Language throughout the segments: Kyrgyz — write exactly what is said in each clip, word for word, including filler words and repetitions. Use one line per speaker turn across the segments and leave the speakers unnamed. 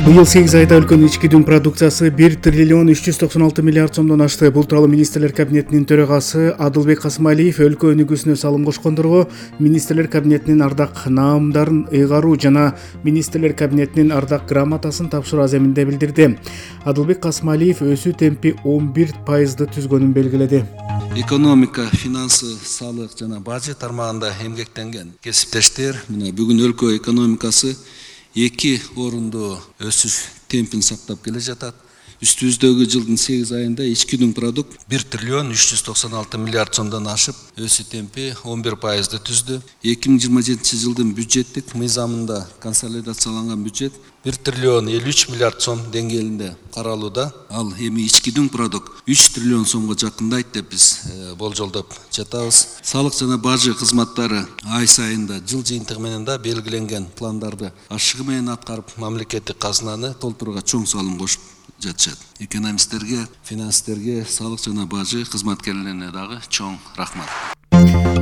Быйыл сегиз айда өлкөнүн ички дүң продукциясы бир триллион үч жүз токсон алты миллиард сомдон ашты. Бул тууралуу Министрлер кабинетинин төрагасы Адылбек Касымалиев өлкө өнүгүүсүнө салым кошкондорго Министрлер кабинетинин ардак наамдарын ыйгаруу жана Министрлер кабинетинин ардак грамотасын тапшыруу аземинде билдирди. Адылбек Касымалиев өсүү темпи он бир пайызды түзгөнүн белгиледи.
Экономика, финансы, салык жана бажы тармагында эмгектенген кесиптештер мына бүгүн өлкө экономикасы эки орунду өсүш темпин сактап келе жатат. Үстүбүздөгү жылдын сегиз айында ички дүң продукт бир триллион үч жүз токсон алты миллиард сомдон ашып, өсүү темпи он бир пайызды түздү. эки миң жыйырма жетинчи жылдын бюджеттик мыйзамында консолидацияланган бюджет бир триллион элүү үч миллиард сом деңгээлинде каралууда. Ал эми ички дүң продукт үч триллион сомго жакындайт деп биз болжолдоп жатабыз. Салык жана бажы кызматтары ай сайында жыл жыйынтыгы менен да белгиленген пландарды ашыгы менен аткарып, мамлекеттик казынаны толтурууга чоң салым кошуп жатышат. Экономисттерге, финансисттерге, салык жана бажы кызматкерлерине дагы чоң рахмат.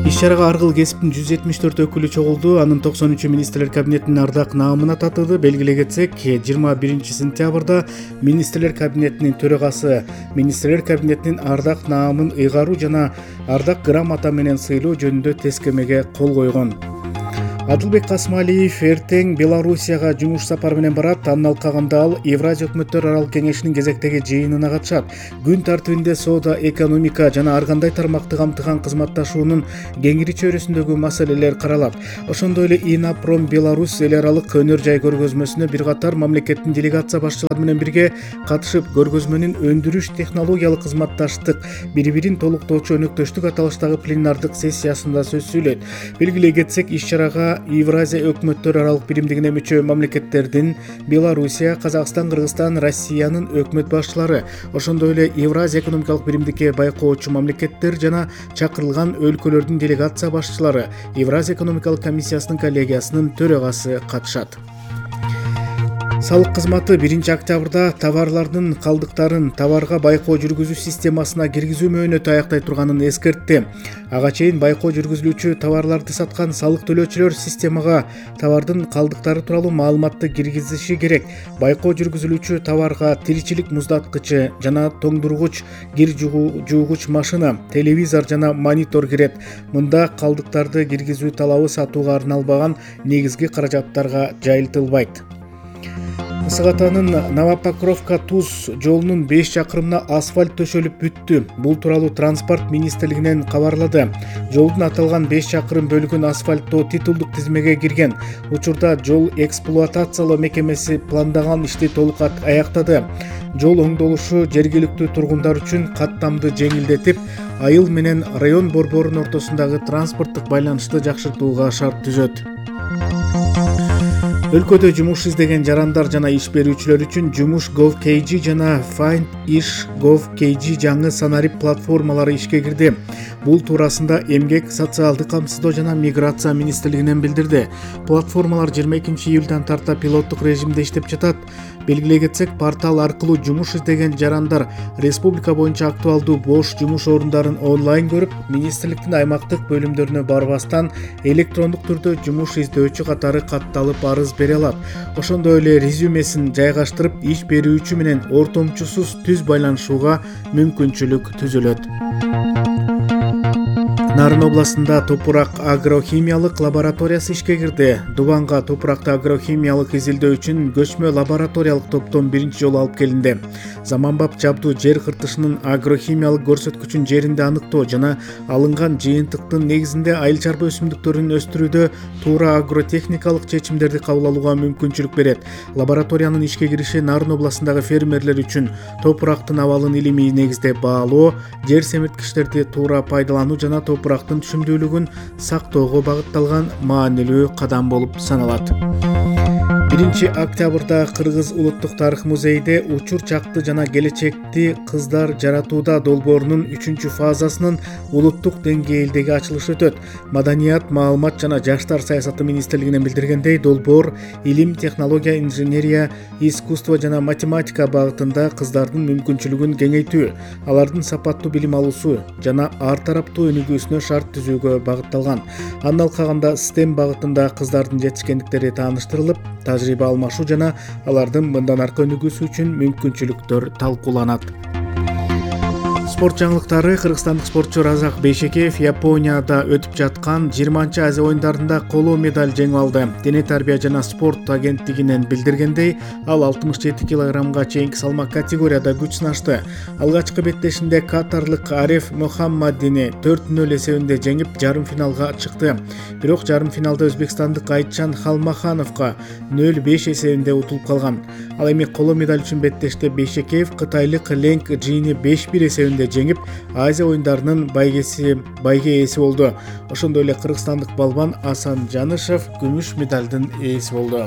Иш-чарага Аргыл кесиптин жүз жетимиш төрт өкүлү чогулду. Анын токсон үчү Министрлер кабинетинин ардак наамына татыды. Белгилей кетсек, жыйырма биринчи сентябрда Министрлер кабинетинин төрагасы Министрлер кабинетинин ардак наамын ыйгаруу жана ардак грамота менен сыйлоо жөнүндө тескемеге кол койгон. Адылбек Касымалиев эртең Белоруссияга жумуш сапары менен барат. Анын алкагында ал Евразия өкмөттөр аралык кеңешинин кезектеги жыйынына катышат. Күн тартибинде соода, экономика жана ар кандай тармакты камтыган кызматташуунун кеңири чөйрөсүндөгү маселелер каралат. Ошондой эле Инопром Беларусь эл аралык өнөр жай көргөзмөсүнө бир катар мамлекеттин делегация башчылары менен бирге катышып, көргөзмөнүн өндүрүш, технологиялык кызматташтык, бири-бирин толуктоочу өнөктөштүк аталыштагы пленардык сессиясында сөз сүйлөйт. Белгилей кетсек, иш-чарага Евразия өкмөттөр аралык биримдигине мүчө мамлекеттердин Белоруссия, Казакстан, Кыргызстан, Россиянын өкмөт башчылары, ошондой эле Евразия экономикалык биримдикке байкоочу мамлекеттер жана чакырылган өлкөлөрдүн делегация башчылары, Евразия экономикалык комиссиясынын коллегиясынын төрагасы катышат. Салык кызматы биринчи октябрда товарлардын калдыктарын товарга байкоо жүргүзүү системасына киргизүү мөөнөтү аяктай турганын эскертти. Ага чейин байкоо жүргүзүлүүчү товарларды саткан салык төлөөчүлөр системага товардын калдыктары тууралуу маалыматты киргизиши керек. Байкоо жүргүзүлүүчү товарга тиричилик муздаткычы жана тоңдургуч, кир жуугуч машина, телевизор жана монитор кирет. Мында калдыктарды киргизүү талабы сатууга арналбаган негизги каражаттарга жайылтылбайт. Ысык Атанын Новопокровка Туз жолунун беш чакырымына асфальт төшөлүп бүттү. Бул тууралуу Транспорт министрлигинен кабарлады. Жолдун аталган беш чакырым бөлүгүн асфальттоо титулдук тизмеге кирген. Учурда жол эксплуатациялоо мекемеси пландаган ишти толук аяктады. Жол оңдолушу жергиликтүү тургундар үчүн каттамды жеңилдетип, айыл менен район борборунун ортосундагы транспорттук байланышты жакшыртууга шарт түзөт. Өлкөдө жумуш издеген жарандар жана иш берүүчүлөр үчүн Жумуш Gov.kg жана Find Ish Gov.kg жаңы санарип платформалары ишке кирди. Бул туурасында Эмгек, социалдык камсыздоо жана миграция министрлигинен билдирди. Платформалар жыйырма экинчи июлдан тарта пилоттук режимде иштеп жатат. Белгилей кетсек, портал аркылуу жумуш издеген жарандар республика боюнча актуалдуу бош жумуш орундарын онлайн көрүп, министрликтин аймактык бөлүмдөрүнө барбастан электрондук түрдө жумуш издөөчү катары катталып арыз бере алат. Ошондой эле резюмесин жайгаштырып, иш берүүчү менен ортомчусуз түз байланышууга мүмкүнчүлүк түзүлөт. Нарын областында топурак агрохимиялык лабораториясы ишке кирди. Дубанга топуракты агрохимиялык изилдөө үчүн көчмө лабораториялык топтон биринчи жолу алып келинди. Заманбап жабдуу жер кыртышынын агрохимиялык көрсөткүчүн жеринде аныктоо жана алынган жыйынтыктын негизинде айыл чарба өсүмдүктөрүн өстүрүүдө туура агротехникалык чечимдерди кабыл алууга мүмкүнчүлүк берет. Лабораториянын ишке кириши Нарын областындагы фермерлер үчүн топурактын абалын илимий негизде баалоо, жер семирткичтерди туура пайдалануу жана топурактын түшүмдүүлүгүн сактоого багытталган маанилүү кадам болуп саналат. биринчи октябрда Кыргыз улуттук тарых музейинде учур чакты жана келечекти кыздар жаратууда долбоорунун үчүнчү фазасынын улуттук деңгээлдеги ачылышы өтөт. Маданият, маалымат жана жаштар саясаты министрлигинен билдиргендей, долбоор илим, технология, инженерия, искусство жана математика багытында кыздардын мүмкүнчүлүгүн кеңейтүү, алардын сапаттуу билим алуусу жана ар тараптуу өнүгүүсүнө шарт түзүүгө багытталган. Анын алкагында STEM багытында кыздардын жетишкендиктери тааныштырылып, тажрыйба алмашуу жана алардын мындан аркы өнүгүүсү үчүн мүмкүнчүлүктөр талкууланат. Спорт жаңылыктары. Кыргызстандык спортчу Разак Бейшекеев Японияда өтүп жаткан жыйырманчы Азия оюндарында коло медаль жеңип алды. Дене тарбия жана спорт агенттигинен билдиргендей, ал алтымыш жети килограммга чейинки салмак категорияда күч сынашты. Алгачкы беттешинде катарлык Ареф Мухаммадини төрт нөл эсебинде жеңип, жарым финалга чыкты. Бирок жарым финалда өзбекстандык Айтчан Халмахановго нөл беш эсебинде утулуп калган. Ал эми коло медаль үчүн беттеште Бейшекеев кытайлык Ленг Джини беш бир эсебинде жеңип, Азия оюндарынын байгеси байге ээси болду. Ошондой эле кыргызстандык балбан Асан Жанышев күмүш медалдын ээси болду.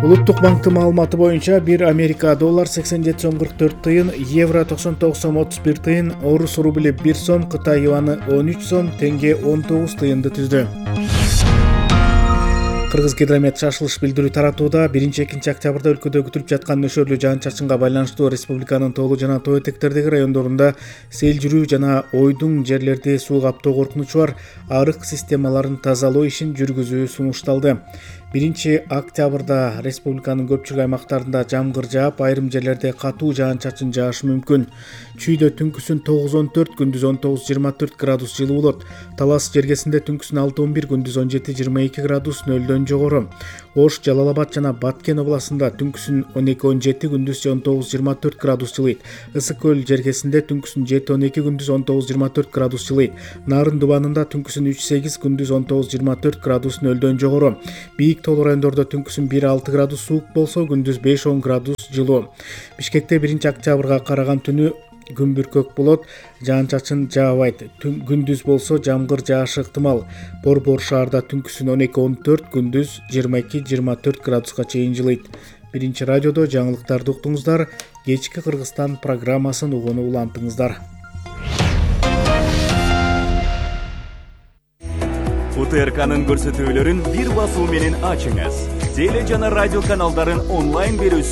Улуттук банктын маалыматы боюнча бир Америка доллар сексен жети сом кырк төрт тыйын, евро токсон тогуз сом отуз бир тыйын, орус рубли бир сом, Кытай юаны он үч сом, тенге он тогуз тыйынды түздү. Кыргызгидромет шашылыш билдирүү таратууда. биринчи-экинчи октябрда өлкөдө күтүлүп жаткан нөшөрлүү жаан-чачынга байланыштуу республиканын тоолуу жана тоо этектердеги райондорунда сел жүрүү жана ойдуң жерлерди суу каптоо коркунучу бар. Арык системаларын тазалоо ишин жүргүзүү сунушталды. биринчи октябрда республиканын көпчүлүк аймактарында жамгыр жаап, айрым жерлерде катуу жаан-чачын жаашы мүмкүн. Чүйдө түнкүсүн тогуз он төрт, күндүз он тогуз жыйырма төрт градус жылуу болот. Талас жергесинде түнкүсүн алты он бир, күндүз он жети жыйырма эки градус нөлдөн жогору. Ош, Жалал Абад жана Баткен областында түнкүсүн он эки он жети, күндүз он тогуз жыйырма төрт градус жылыйт. Ысык көл жергесинде түнкүсүн жети он эки, күндүз он тогуз жыйырма төрт градус жылыйт. Нарын дубанында түнкүсүн үч сегиз, күндүз он тогуз жыйырма төрт градус нөлдөн жогору. Бийик тоолуу райондордо түнкүсүн бир алты градус суук болсо, күндүз беш он градус жылуу. Бишкекте биринчи октябрга караган түнү күн бүркөк болот, жаан-чачын жаабайт. Күндүз болсо жамгыр жаашы ыктымал. Борбор шаарда түнкүсүн он эки он төрт, күндүз жыйырма эки жыйырма төрт градуска чейин жылыйт. Биринчи радиодо жаңылыктарды уктуңуздар. Кечки Кыргызстан программасын угууну улантыңыздар.
У Т Р К'нын көрсөтүүлөрүн бир басуу менен ачыңыз. Теле жана радио каналдарын онлайн берүүсү